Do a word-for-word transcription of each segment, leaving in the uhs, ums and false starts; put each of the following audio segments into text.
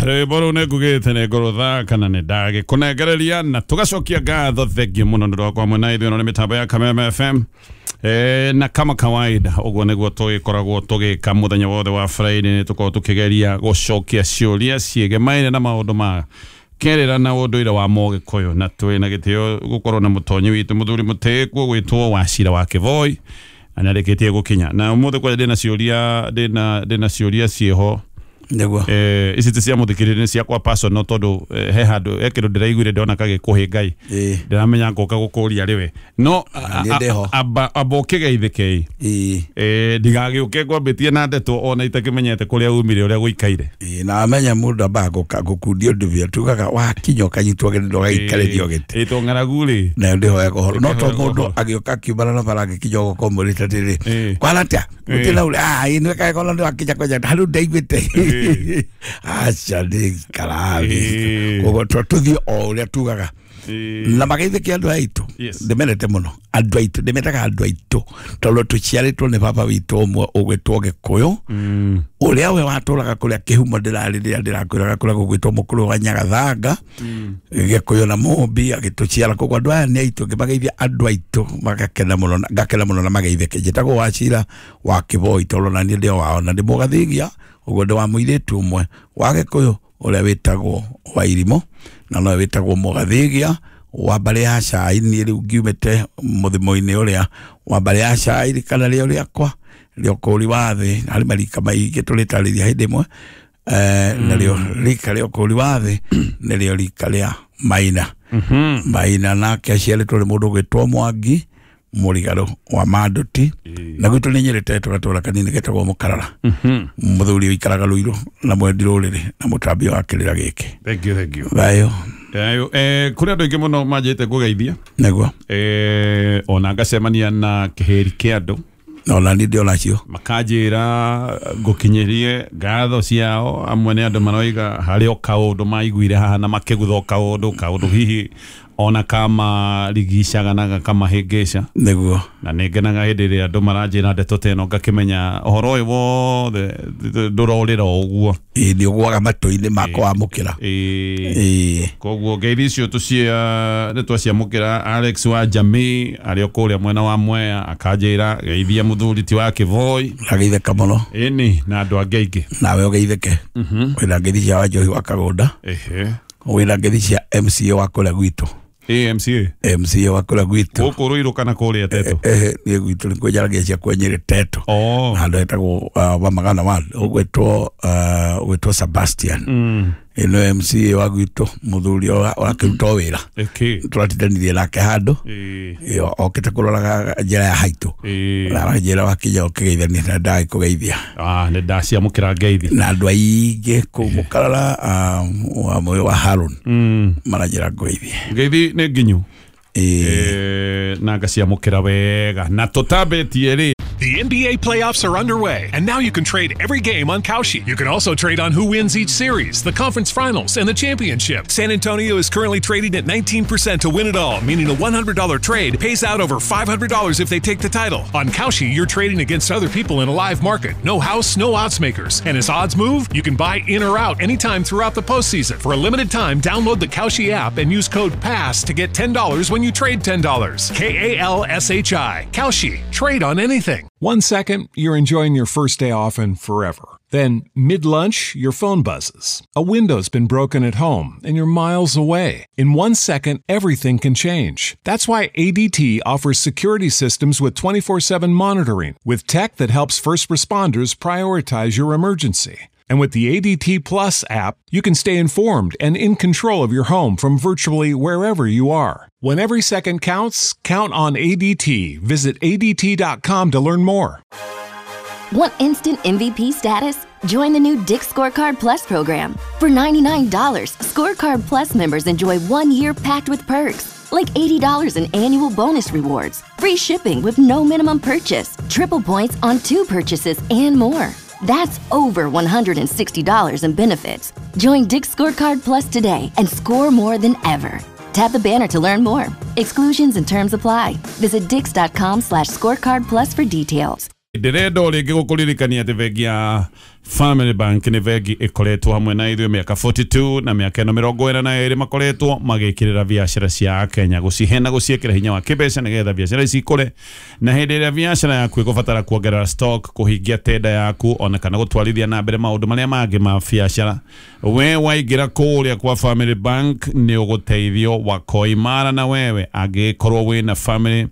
Rwĩmbo rũu nĩ ngugĩte nĩ ngũrũthaka na nĩ ndagĩkũnengereria na tũgacokia ngatho. Thengiũ mũno nĩ ũndũ wa kwamwe na ithuĩ. Ĩno nĩ mĩtambo ya Kameme F M. E, na kama kawaida ũguo nĩguo tũgĩkoragwo tũgĩka mũthenya wothe wa Friday, nĩ tũkoragwo tũkĩgeria gũcokia ciũria ciĩgemaine na maũndũ ma kerĩra na ũndũire wa Mũgĩkũyũ, na twĩ na gĩtĩo gũkorwo na mũtonyi witũ, mũthuri mũtĩĩku gwĩtwo Wacira wa Kĩboi, na nĩarĩkĩtie gũkinya. Na ũmũthĩ kwanja ndĩna ciũria ndĩna ndĩna ciũria ciĩho. Nĩguo. Eh, ici ti cia mũthikĩrĩria, nĩ ciakwa personal, tondũ eh, he handũ he kĩndũ ndĩraiguire ndona kagĩkũhĩ Ngai. Ĩĩ. Ndĩramenya ngũka gũkũria rĩwe no Niĩ ndĩho. amba amba ũkĩgeithĩkei. Ĩĩ. Eh, ndigagĩũke ngwambĩtie na ndeto ona itakĩmenyete kũrĩa umire, ũrĩa gũikaire. Ĩĩ, na amenya mũndũ ambaga gũka- gũkundia ũndũ bia tugaga wakinya ũkanyitwo gĩtĩ ũgaikarĩrio gĩtĩ. Ĩtwo ng'aragu rĩ. Nayo ndĩhoyaga ũhoro no to Ndĩhoyaga mũndũ ũhoro. agĩũka akiumana na bara agĩkinya ũgoka ũmwĩrĩte atĩrĩ, Ĩĩ. kwana atĩa? Ĩĩ. Gũtirĩ na ũrĩa ah ĩĩ nĩwekaga kona nĩwakinya kwanja harĩ ndaiguĩte. Aca nĩ Ĩĩ. ikarathi koguo tũthiĩ o ũrĩa tugaga. Ĩĩ. Na mageithĩke andũ aitũ. Yes. Ndĩmendete mũno andũ aitũ, ndĩmetaga andũ aitũ tondũ tũciarĩtwo nĩ baba witũ ũmwe ũgwĩtwo Gĩkũyũ, Mm. ũrĩa we watũraga kũrĩa kĩhumo ndĩrarĩ rĩrĩa ndĩrakwĩraga kũrĩa gũgwĩtwo mũkũrũ wa Nyagathanga, Gĩkũyũ na Mũmbi agĩtũciara. Koguo andũ aya nĩ aitũ, ngĩmageithia andũ aitũ magakena mũno na- ngakena mũno na mageithĩke. Njĩtagwo Wacira wa Kĩboi tondũ na niĩ ndĩ o wao na ndĩ Mũgathigia, ũguo ndĩ wa mũirĩtu ũmwe wa Gĩkũyũ ũrĩa wĩtagwo Wairimũ na nowe wĩtagwo Mũgathigia wa mbarĩ ya Cai. Niĩ rĩu ngiumĩte mũthimo-inĩ ũrĩa wa mbarĩ ya Cai kana rĩo rĩakwa rĩa ũkũri wa thĩ harĩ marika maingĩ tũrĩtarĩria hĩndĩ ĩmwe. Eh, narĩo rika rĩa ũkũri wa thĩ nĩrĩo rika rĩa Maina. Maina nake aciarĩtwo nĩ mũndũ ũgwĩtwo Mwangi Mũrigarũ wa Manduti, na gwitũ nĩ Nyĩrĩ tũgatũra kanini getagwo Mũkarara, mũthuri ũikaraga Rũirũ na mwendi rũrĩrĩ na mũtambio wa kĩrĩra gĩkĩ. Thank you, thank you. Thayũ. Thayũ. Eh, kũrĩ andũ aingĩ mũno manjĩte ngũgeithia. Nĩguo. Eh, ona ngacemania na kĩhĩri kĩa andũ. Ona niĩ ndĩ onacio. Makanjĩra ngũkinyĩrie ngatho ciao. Amwe nĩ andũ maroiga harĩ o kaũndũ maiguire haha na makĩgutha o kaũndũ kaũndũ hihi ona kamarigicaga na gakamahĩngĩca. Nĩguo. Na nĩ ngenaga hĩndĩ ĩrĩa andũ maranjĩra ndeto ta ĩno, ngakĩmenya ũhoro ũyũ wothe ndũrorĩra o ũguo. Ĩĩ, nĩ ũgwaga matũ-inĩ makwa wamũkĩra. Ĩĩ. Ĩĩ. Koguo ngeithi icio tũcia nĩ twaciamũkĩra. Alex wa Jamii arĩ o kũrĩa mwena wa Mwea akanjĩra geithia mũthuri ti wa Kĩboi. Ageithĩka mũno. Ĩni na andũ angĩ aingĩ. Nawe ũgeithĩke. Wĩna ngeithi cia Wanjohi wa Kagũnda. Ehe. Wĩna ngeithi cia M C A wa kũrĩa gwitũ. A M C A. M C A wa kũrĩa gwitũ. Gũkũ Rũirũ kana kũrĩa Tetũ? Ehe, niĩ gwitũ nĩ kwĩnjaragia cia kwenyĩrĩ Tetũ. Oh. Handũ hetagwo uh, wa magana wa ũgwĩtwo uh, ũgwĩtwo Sebastian. Mm. Ĩno M C A wa gwitũ, mũthuri ũra- ũrakĩruta o wĩra. Ĩkĩ. Tũratindanirie nake handũ. Ĩĩ. Ĩyo okĩte kũroraga njĩra ya haitũ. Ĩĩ. Na aranjĩra wakinya ũkĩgeithania na ndagĩkũgeithia. Ah, nĩ ndaciamũkĩra ngeithi. Na andũ aingĩ kũu Mũkarara, uh, wa mũyũ wa Harun, Mm. maranjĩra ngũgeithie. Ngeithi nĩ nginyu. Ĩĩ. Eh, na ngaciamũkĩra wega na tũtambĩtie rĩ. The N B A playoffs are underway, and now you can trade every game on Kalshi. You can also trade on who wins each series, the conference finals, and the championship. San Antonio is currently trading at nineteen percent to win it all, meaning a one hundred dollar trade pays out over five hundred dollars if they take the title. On Kalshi, you're trading against other people in a live market. No house, no odds makers. And as odds move, you can buy in or out anytime throughout the postseason. For a limited time, download the Kalshi app and use code PASS to get ten dollars when you trade ten dollars. K A L S H I. Kalshi. Trade on anything. One second, you're enjoying your first day off and forever. Then, mid lunch, your phone buzzes. A window's been broken at home and you're miles away. In one second, everything can change. That's why A D T offers security systems with twenty-four seven monitoring, with tech that helps first responders prioritize your emergency. And with the A D T Plus app, you can stay informed and in control of your home from virtually wherever you are. When every second counts, count on A D T. Visit A D T dot com to learn more. Want instant M V P status? Join the new Dick's Scorecard Plus program. For ninety-nine dollars, Scorecard Plus members enjoy one year packed with perks, like eighty dollars in annual bonus rewards, free shipping with no minimum purchase, triple points on two purchases, and more. That's over one hundred sixty dollars in benefits. Join Dick's Scorecard Plus today and score more than ever. Tap the banner to learn more. Exclusions and terms apply. Visit dicks dot com slash scorecard plus for details. Ndĩrenda o rĩngĩ gũkũririkania atĩ bengi ya Family Bank nĩ bengi ĩkoretwo hamwe na ithuĩ mĩaka mĩrongo ĩna na ĩtũ na mĩaka ĩno mĩrongo ĩna na ĩrĩ makoretwo magĩkĩrĩra biacara cia Kenya, gũcihe na gũciĩkĩra hinya wa kĩmbeca nĩgetha biacara ici ikũre. Na hĩndĩ ĩrĩa biacara yaku ĩgũbatara kuongerera stock, kũhingia tenda yaku, ona kana gũtwarithia na mbere maũndũ marĩa mangĩ ma biacara, we waingĩra kũrĩa kwa Family Bank nĩ ũgũteithio wako imara. Na wewe angĩkorwo wĩna family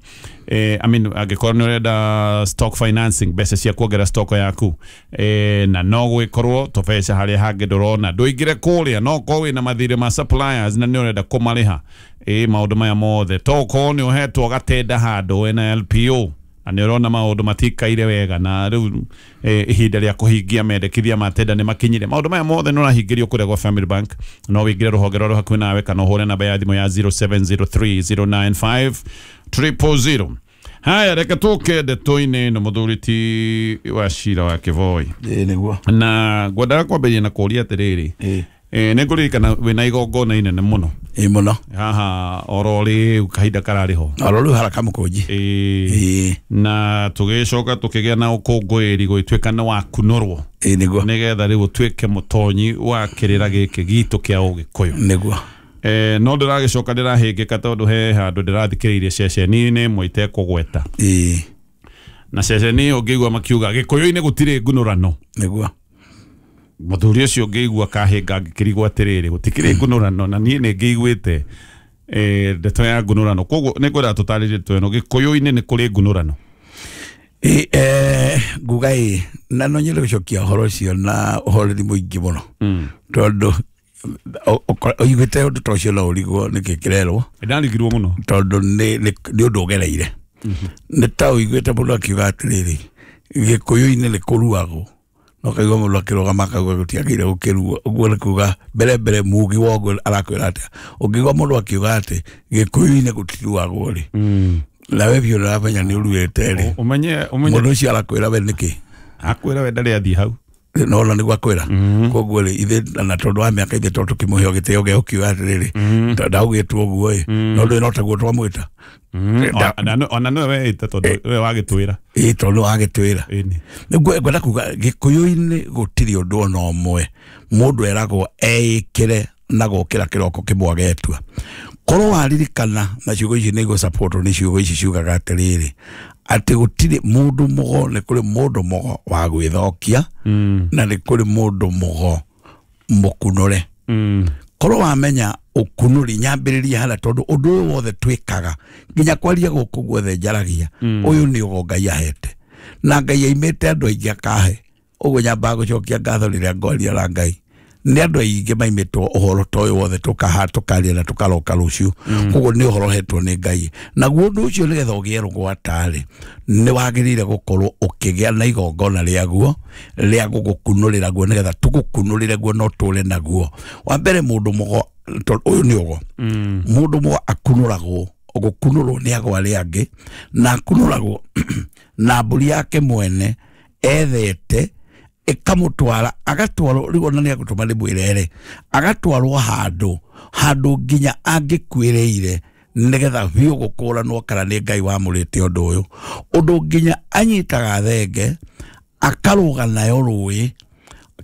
eh, I mean, angĩkorwo nĩ ũrenda stock financing, mbeca cia kuongerera stock yaku, eh, na no gwĩkorwo tũbeca harĩa hangĩ ndũrona, ndũingĩre kũrĩa. No korwo wĩna mathirĩ ma suppliers na nĩ ũrenda kũmarĩha, ĩ maũndũ maya mothe, to ũkorwo nĩ ũhetwo gatenda handũ wĩna L P O na nĩ ũrona maũndũ matikaire wega, na rĩu eh, ihinda rĩa kũhingia mendekithia ma tenda nĩ makinyire, maũndũ maya mothe nĩ ũrahingĩrio kũrĩa gwa Family Bank. No wĩingĩre rũhonge rwa hakuhĩ nawe kana ũhũre namba ya thimũ ya zero seven zero three zero nine five zero zero zero. Haya, reke tũke ndeto-inĩ ĩno, mũthuri ti wa cira wa Kĩboi. Ĩĩ, nĩguo. Na ngwendaga kwambĩrĩria na kũũria atĩrĩrĩ, Ĩĩ. eh, nĩ ngũririkana wĩna igongona inene mũno Ĩĩ, mũno. Haha oro rĩu kahinda kararĩ ho. Oro rĩu haraka mũkũnji. Ĩĩ. Ĩĩ. Na tũgĩcoka tũkĩgĩa na ũkũngũĩri gũgĩtuĩka nĩ wakunũrwo Ĩĩ, nĩguo. nĩgetha rĩu ũtuĩke mũtonyi wa kĩrĩra gĩkĩ gitũ kĩa Ũgĩkũyũ. Nĩguo. Eh, no ndĩragĩcoka ndĩrahĩngĩka tondũ he handũ ndĩrathikĩrĩirie ceceni-inĩ ĩmwe itekũgweta, Ĩĩ. na ceceni ĩyo ngĩigua makiuga Gĩkũyũ-inĩ gũtirĩ ngunũrano. Nĩguo. Mũthuri ũcio ngĩigua kahĩnga ngĩkĩrigwo atĩrĩrĩ, gũtikĩrĩ ngunũrano, na niĩ nĩ ngĩiguĩte eh, ndeto ya ngunũrano, koguo nĩ ngwenda tũtarĩrie ndeto ĩno, Gĩkũyũ-inĩ nĩ kũrĩ ngunũrano? Ĩĩ, eh, nguga ĩ na no nyende gũcokia ũhoro ũcio na ũhoreri mũingĩ mũno, tondũ ũiguĩte ũndũ ta ũcio no ũrigwo nĩkĩ kĩrerwo. Ndarigirwo mũno. Tondũ nĩ nĩ nĩ ũndũ ũgereire, nĩ ta ũiguĩte mũndũ akiuga atĩrĩrĩ, Gĩkũyũ-inĩ nĩ kũruagwo, no kaigua mũndũ akĩrũgama akauga gũtiagĩrĩire gũkĩruo. Ũguo nĩ kuga mbere mbere mugi wa ũguo arakwĩra atĩa? Ũngĩigua mũndũ akiuga atĩ Gĩkũyũ-inĩ gũtiruagwo rĩ, nawe biũ nĩũramenya nĩ ũruĩte rĩ. Ũmenye, ũmenye. Mũndũ ũcio arakwĩra we nĩkĩ? Akwĩra we ndarĩ athiĩ hau. Nona nĩguo akwĩra. Koguo rĩ, ithe na tondũ wa mĩaka ithe tondũ tũkĩmũhe gĩtĩo gĩa gũkiuga atĩrĩrĩ, ndaugĩtwo ũguo ĩ, no ndũĩ no taguo twamwĩta. Ona ona nĩwe weĩta tondũ we wagĩtwĩra. Ĩ, tondũ wagĩtwĩra. Ĩni. Nĩguo ngwenda kuga Gĩkũyũ-inĩ gũtirĩ ũndũ ona ũmwe mũndũ eragwo eĩkĩre na gũkĩra kĩroko kĩmwe agetua. Korwo waririkana, na ciugo ici nĩ igũ nĩ ciugo ici ciugaga atĩrĩrĩ, atĩ gũtirĩ mũndũ mũgo, nĩ kũrĩ mũndũ mũgo wa gwĩthokia na nĩ kũrĩ mũndũ mũgo mũkunũre. Korwo wamenya ũkunũri, nyambĩrĩria harĩa, tondũ ũndũ ũyũ wothe twĩkaga nginya kwaria gũkũ guothe njaragia, ũyũ nĩ ũgo Ngai ahete, na Ngai aimĩte andũ aingĩ akahe. Ũguo nyambaga gũcokia ngatho rĩrĩa ngwaria na Ngai nĩ andũ aingĩ maimĩtwo ũhoro ta ũyũ wothe tũkaha tũkaria na tũkaroka rũciũ. Koguo nĩ ũhoro ũhetwo nĩ Ngai. Naguo ũndũ ũcio, nĩgetha ũgĩe rũgwata-rĩ, nĩ wagĩrĩire gũkorwo ũkĩgĩa na igongona rĩaguo rĩa gũgũkunũrĩra guo, nĩgetha tũgũkunũrĩre guo no tũre naguo. Wa mbere, mũndũ mũgo, tondũ ũyũ nĩ ũgo, mũndũ mũgo akunũragwo, gũkunũrwo nĩ ago arĩa angĩ, na akunũragwo na mbũri yake mwene ethete ĩkamũtwara, agatwarwo rĩu ona nĩ agũtũma ndĩmwĩrere, agatwarwo handũ handũ nginya angĩkuĩrĩire, nĩgetha biũ gũkũranwo kana nĩ Ngai wamũrĩte ũndũ ũyũ, ũndũ nginya anyitaga thenge akarũga nayo rũĩ,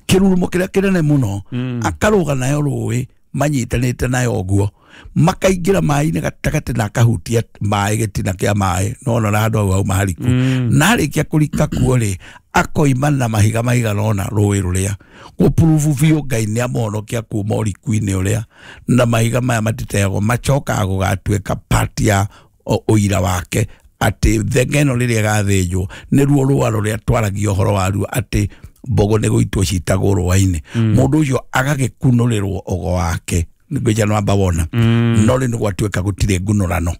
kĩrurumo kĩrĩa kĩnene mũno, akarũga nayo rũĩ manyitanĩte nayo ũguo, makaingĩra maĩ-inĩ gatagatĩ na akahutia maĩ, gĩtina kĩa maĩ, no na handũ hau hauma hariku, na arĩkia kũrika kuo rĩ, akoima na mahiga maigana ũna rũĩ rũrĩa gũpurubu biũ Ngai nĩ amũhonokia kuma ũriku-inĩ ũrĩa, na mahiga maya matiteagwo, macokaga gũgatuĩka part ya ũ- ũira wake atĩ thenge ĩno rĩrĩa ĩgathĩnjwo nĩruo rũa rũrĩa twaragia ũhoro waruo atĩ mbogo nĩ gũitwo citagwo rũa-inĩ. Mũndũ ũcio agagĩkunũrĩrwo ũgo wake ngwĩcia nĩwamba wona. No rĩu nĩ gwatuĩka gũtirĩ ngunũrano,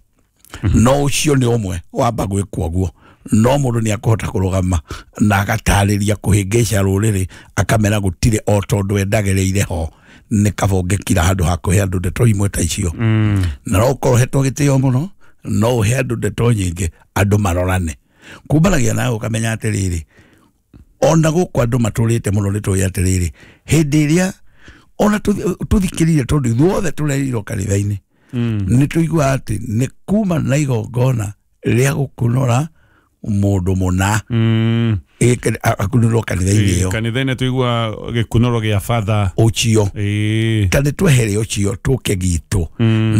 no ũcio nĩ ũmwe wamba gwĩkwo ũguo, no mũndũ nĩ akũhota kũrũgama na agatarĩria kũhĩngĩca rũrĩrĩ, akamera gũtirĩ, o tondũ endagereire ho nĩ kaba ũngĩkira handũ ha kũhe andũ ndeto imwe ta icio. Na no ũkorwo ũhetwo gĩtĩo mũno, no ũhe andũ ndeto nyingĩ andũ marorane kumanagia nawe, ũkamenya atĩrĩrĩ, ona gũkũ andũ matũrĩte mũno nĩ tũĩ atĩrĩrĩ, hĩndĩ ĩrĩa ona tũthi- tũthikĩrĩire, tondũ ithuothe tũrerirwo kanitha-inĩ, nĩ tũiguaga atĩ nĩ kuma na igongona rĩa gũkunũra. mundu muna mm. Akunurwo kanitha-inĩ ĩyo kanitha-inĩ tuigua gĩkunũro gĩa father ũcio ta nĩ twehere ũcio tũke gitũ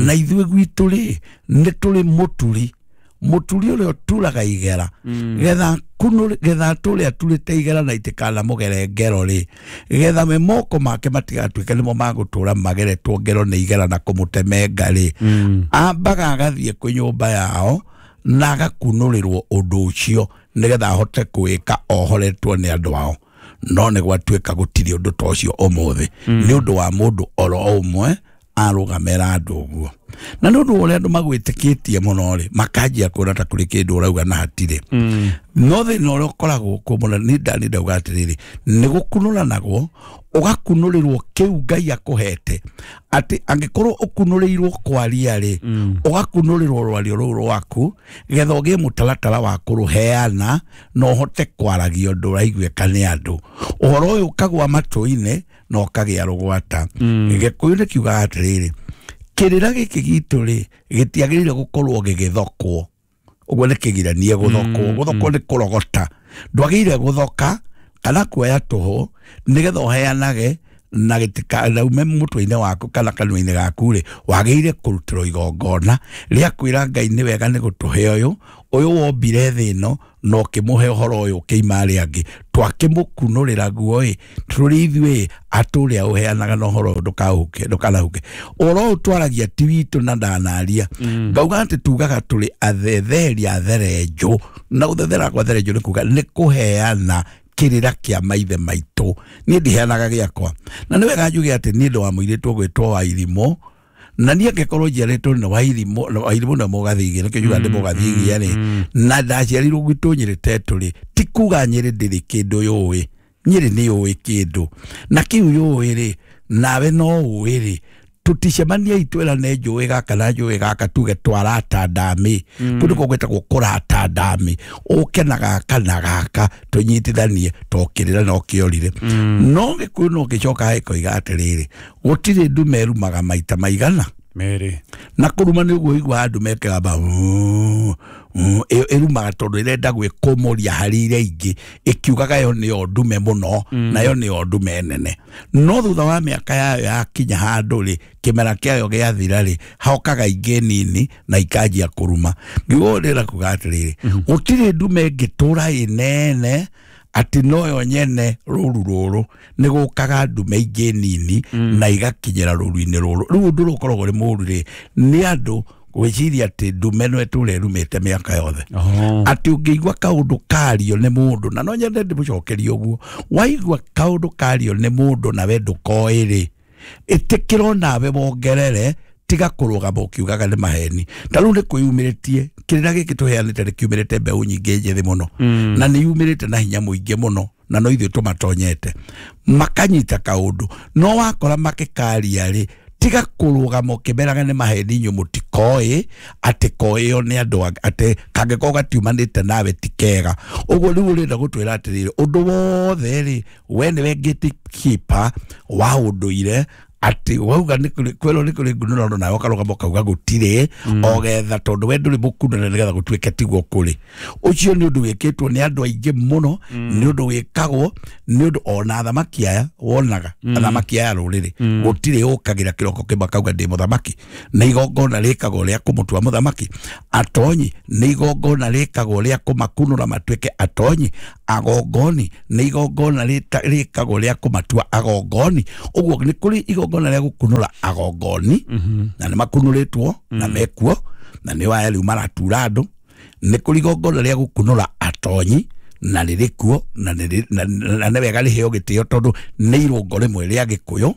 na ithuĩ gwitũ rĩ nĩ tũrĩ mũturi mũturi ũrĩa ũturaga igera getha kunũ getha tũrĩa turĩte igera na itikana mũgere ngero rĩ getha me moko make matigatuĩke nĩmo magũtũra mageretwo ngero nĩ igera na kũmũtemenga rĩ ambaga agathiĩ kwĩ nyũmba yao na agakunũrĩrwo ũndũ ũcio nĩgetha ahote kwĩka ohoretwo nĩ andũ ao no nĩ gwatuĩka gũtirĩ ũndũ ta ũcio ũmũthĩ nĩ ũndũ wa mũndũ oro ũmwe arũgamĩra andũ ũguo na nĩ ũndũ ũrĩa andũ magwĩtĩkĩtie mũno rĩ makanjia kuona ta kũrĩ kĩndũ ũrauga na hatirĩ no thĩna ũrĩa ũkoragwo kuo mũno nĩ ndani ndauga atĩrĩrĩ nĩ gũkunũranagwo ũgakunũrĩrwo kĩu Ngai akũhete atĩ angĩkorwo ũkunũrĩirwo kwaria rĩ ũgakunũrĩrwo rwario rũu rwaku getha ũgĩe mũtaratara wa kũrũheana na ũhote kwaragia ũndũ ũraiguĩka nĩ andũ ũhoro ũyũ ũkagwa matũ-inĩ na ũkagĩa rũgwata Gĩkũyũ nĩ kiugaga atĩrĩrĩ kĩrĩra gĩkĩ gitũ rĩ gĩtiagĩrĩire gũkorwo gĩgĩthokwo ũguo nĩ kĩgiranie gũthokwo gũthokwo nĩ kũrogota ndwagĩrĩire gũthoka kana kuoya tũhũ nĩgetha ũheanage na gĩtikanaume mũtwe-inĩ waku kana kanua-inĩ gaku rĩ wagĩrĩire kũrutĩrwo igongona rĩa kwĩra Ngai nĩ wega nĩ gũtũhe ũyũ ũyũ wombire thĩ ĩno na ũkĩmũhe ũhoro ũyũ ũkĩima arĩa angĩ twakĩmũkunũrĩra guo ĩ tũrĩ ithuĩ atũrĩa ũheanaga na ũhoro ũyũ ndũkahuke ndũkanahuke ũhoro ũyũ twaragia ti witũ na ndanaria ngauga atĩ tugaga tũrĩ athetheri atherenjũ na gũthethera kwa therenjũ nĩ kuga nĩ kũheana kĩrĩra kĩa maithe maitũ niĩ ndiheanaga gĩakwa na nĩ wega njuge atĩ niĩ ndĩ wa mũirĩtu ũgwĩtwo Wairimũ na niĩ angĩkorwo njiarĩtwo nĩ Wairimũ Wairimũ nĩ mũgathigia nĩkĩo njugaga ndĩ mũgathigia rĩ na ndaciarirwo gwitũ Nyĩrĩ Tetũ rĩ ti kuga Nyĩrĩ ndĩrĩ kĩndũ yũĩ Nyĩrĩ nĩ yũĩ kĩndũ na kĩu yũĩ rĩ nawe no ũĩ rĩ tuticemania itwĩrane njũĩ gaka na njũĩ gaka tuge twarata ndamĩ kũndũ kũu gwĩtagwo kũrata ndamĩ ũke na gaka na gaka tũnyitithanie tokĩrĩra no kĩorire no Gĩkũyũ no gĩcoka gĩkoiga atĩrĩrĩ gũtirĩ ndume ĩrumaga maita maigana merĩ na kũruma nĩ ũguo ũiguaga ndume ĩkĩgamba ĩrumaga tondũ ĩrenda gwĩkũmũria harĩ iria ingĩ ĩkiugaga yo nĩyo ndume mũno nayo nĩyo ndume nene no thutha wa mĩaka yayo yakinya handũ rĩ kĩmera kĩayo gĩathira rĩ hokaga ingĩ nini na ikanjia kũruma ngiuga ũũ ndĩrenda kuga atĩrĩrĩ gũtirĩ ndume ĩngĩtũra ĩnene atĩ noyo nyene rũru rũrũ nĩ gũkaga ndume ingĩ nini na igakinyĩra rũru-inĩ rũrũ rĩu ũndũ ũrĩa ũkoragwo ũrĩ mũũru rĩ nĩ andũ gwĩciria atĩ ndume no ĩtũre ĩrumĩte mĩaka yothe atĩ ũngĩigua kaũndũ kario nĩ mũndũ na no nyende ndĩmũcokerie ũguo waigua kaũndũ kario nĩ mũndũ nawe ndũkoĩ rĩ ĩtĩkĩrwo nawe wongerere tiga kũrũgama ũkiugaga nĩ maheni ta rĩu nĩ kwĩyumĩrĩtie kĩrĩra gĩkĩ tũheanĩte nĩ kiumĩrĩte mbeũ nyingĩ njĩthĩ mũno na nĩ yumĩrĩte na hinya mũingĩ mũno na no ithuĩ tũmatonyete makanyita kaũndũ no wakora makĩkaria rĩ tiga kũrũgama ũkĩmeraga nĩ maheni inyuĩ mũtikoĩ atĩ koĩyo nĩ andũ atĩ kangĩkorwo gatiumanĩte nawe ti kega ũguo rĩu ũrenda gũtwĩra atĩrĩrĩ ũndũ wothe rĩ we nĩwe gatekeeper wa ũndũire atĩ wauga nĩ kũrĩ kwĩrwo nĩ kũrĩ ngunũrano nawe ũkarũgama ũkauga gũtirĩ o getha tondũ we ndũrĩ mũkunũre nĩgetha gũtuĩke tiguo kũrĩ ũcio nĩ ũndũ wĩkĩtwo nĩ andũ aingĩ mũno nĩ ũndũ wĩkagwo nĩ ũndũ ona athamaki aya wonaga athamaki aya rũrĩrĩ gũtirĩ ũkagĩra kĩroko kĩmwe akauga ndĩ mũthamaki nĩ igongona rĩkagwo rĩa kũmũtua mũthamaki atonyi nĩ igongona rĩkagwo rĩa kũmakunũra matuĩke atonyi agongoni nĩ igongona rĩkagwo rĩa kũmatua agongoni ũguo nĩ kũrĩ igongona rĩa gũkunũra agongoni na nĩ makunũrĩtwo na mekuo na nĩ waya rĩu maratura andũ nĩ kũrĩ igongona rĩa gũkunũra atonyi na rĩrĩ kuo na nĩ wega rĩheo gĩtĩo tondũ nĩ irũngo rĩmwe rĩa Gĩkũyũ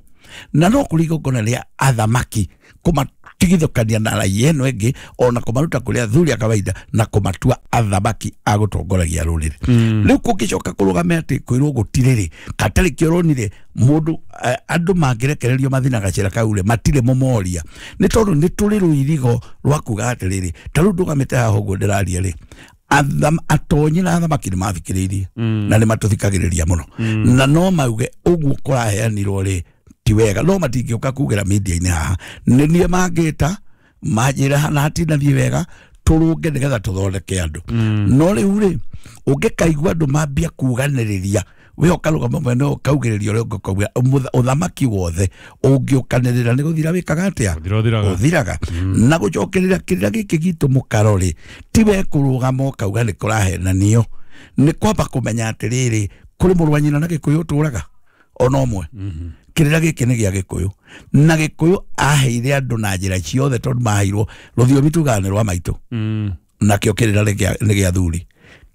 na no kũrĩ igongona rĩa athamaki kũmatigithũkania na raia ĩno ĩngĩ ona kũmaruta kũrĩ athuri a kawaida na kũmatua athamaki a gũtongoragia rũrĩrĩ rĩu kũngĩcoka kũrũgame atĩ kwĩrwo gũtirĩ rĩ katarĩ kĩoronire mũndũ andũ mangĩrekererio mathina gacĩra kau rĩ matirĩ mũmoria nĩ tondũ nĩ tũrĩ rũirigo rwa kuga atĩrĩrĩ ta rĩu ndũgamĩte haha ũguo ndĩraria rĩ atonyi na athamaki nĩ mathikĩrĩirie na nĩ matũthikagĩrĩria mũno na no mauge ũguo kũraheanirwo rĩ ti wega no matingĩũka kugĩra media-inĩ haha nĩ niĩ mangĩta manjĩra na hatinathiĩ wega Tũrũnge nĩgetha tũthondeke andũ. No rĩu rĩ ũngĩkaigua andũ mambia kuganĩrĩria we ũkarũgama mwena ũkaugĩrĩria ũrĩa ũngĩkauga ũthamaki wothe ũngĩũkanĩrĩra nĩ gũthira wĩkaga atĩa ũthiraga. Na gũcokerera kĩrĩra gĩkĩ gitũ mũkaro rĩ ti we kũrũgama ũkauga nĩ kũrahenanio, nĩ kwamba kũmenya atĩrĩrĩ kũrĩ mũrũ wa nyina na Gĩkũyũ ũtũraga ona ũmwe. Kĩrĩra gĩkĩ nĩ gĩa Gĩkũyũ na Gĩkũyũ aheire andũ na njĩra ciothe tondũ maheirwo rũthiomi tugaga nĩ rwa maitũ nakĩo kĩrĩra nĩ gĩa thuri.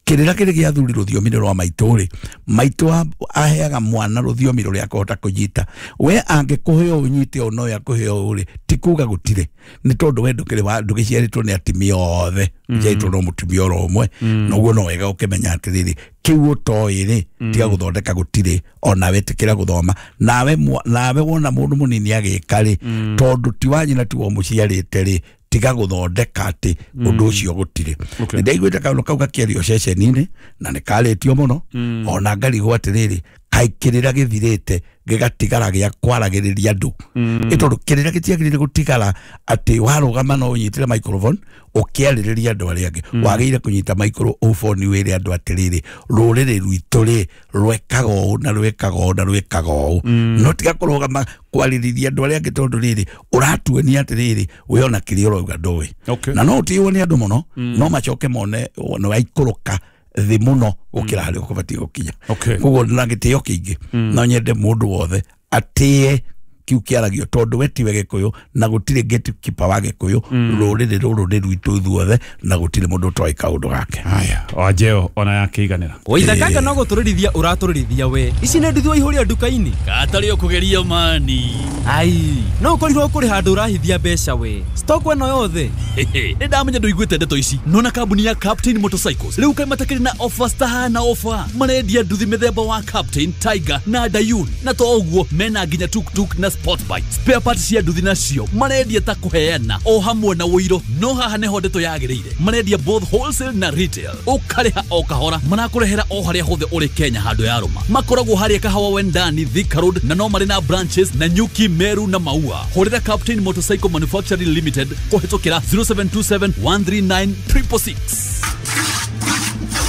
Kĩrĩra kĩrĩ gĩa thuri rũthiomi nĩ rwa maitũ rĩ maitũ aheaga mwana rũthiomi rũrĩa akũhota kũnyita. We angĩkũhe ũũ ũnyite ũũ no akũhe ũũ rĩ ti kuga gũtirĩ nĩ tondũ we ndũkĩrĩ wa ndũgĩciarĩtwo nĩ atumia othe ũciarĩtwo no mũtumia oro ũmwe noguo no wega ũkĩmenya atĩrĩrĩ kĩu ũtoĩ rĩ tiga gũthondeka gũtirĩ ona wetĩkĩra gũthoma nawe nawe wona mũndũ mũnini agĩka rĩ tondũ ti wa nyina ti wa mũciarĩte rĩ tiga gũthondeka atĩ ũndũ ũcio gũtirĩ. Nĩ ndaiguĩte kaũndũ kau gakĩario ceceni-inĩ na nĩ karĩtio mũno ona ngarigwo atĩrĩrĩ kaĩ kĩrĩra gĩthirĩte gĩgatigara gĩa kwaragĩrĩria andũ ĩ tondũ kĩrĩra gĩtiagĩrĩire gũtigara atĩ warũgama no ũnyitĩre microphone ũkĩarĩrĩria andũ arĩa angĩ wagĩrĩire kũnyita microphone wĩre andũ atĩrĩrĩ rũrĩrĩ rwitũ rĩ rwekaga ũũ na rwekaga ũũ na rwekaga ũũ no tiga kũrũgama kwarĩrĩria andũ arĩa angĩ tondũ rĩrĩ ũratuonia atĩrĩrĩ we ona kĩrĩa ũrauga ndũĩ na no ũtĩĩwo nĩ andũ mũno no macoke mone nĩ waikũrũka thĩ mũno gũkĩra harĩa ũkũbatiĩ gũkinya. Koguo na gĩtĩo kĩingĩ no nyende mũndũ wothe atĩe kiu kĩaragio tondũ we tiwe Gĩkũyũ na gũtirĩ gatekeeper wa Gĩkũyũ rũrĩrĩ rũrũ nĩ rwitũ ithuothe na gũtirĩ mũndũ ũtoĩ kaũndũ gake. Haya wanjeo ona yakĩiganĩra waithakanga no gũtũrĩrithia ũratũrĩrithia we ici nĩ nduthi waihũria nduka-inĩ katarĩ ũkũgeria mani ai no ũkorirwo kũrĩ handũ ũrahithia mbeca we stock ĩno yothe nĩ ndamenya ndũiguĩte ndeto ici nona kambuni ya Captain Motorcycles rĩu kaĩ matakĩrĩ na offers tahana offer marendia nduthi mĩthemba wa Captain Tiger na Dayun na to ũguo mena nginya tuktuk na sport bike spare parts cia nduthi nacio marendia ta kũheana o hamwe na ũiro no haha nĩho ndeto yagĩrĩire marendia both wholesale na retail ũkarĩha o kahora marakũrehera o harĩa hothe ũrĩ Kenya handũ ya rũma makoragwo harĩa Kahawa Wendani Thika Road na no marĩ na branches na Nyuki Meru na Maua. Hũrĩra Captain Motorcycle Manufacturing Limited kũhĩtũkĩra zero seven two seven one three nine triple six.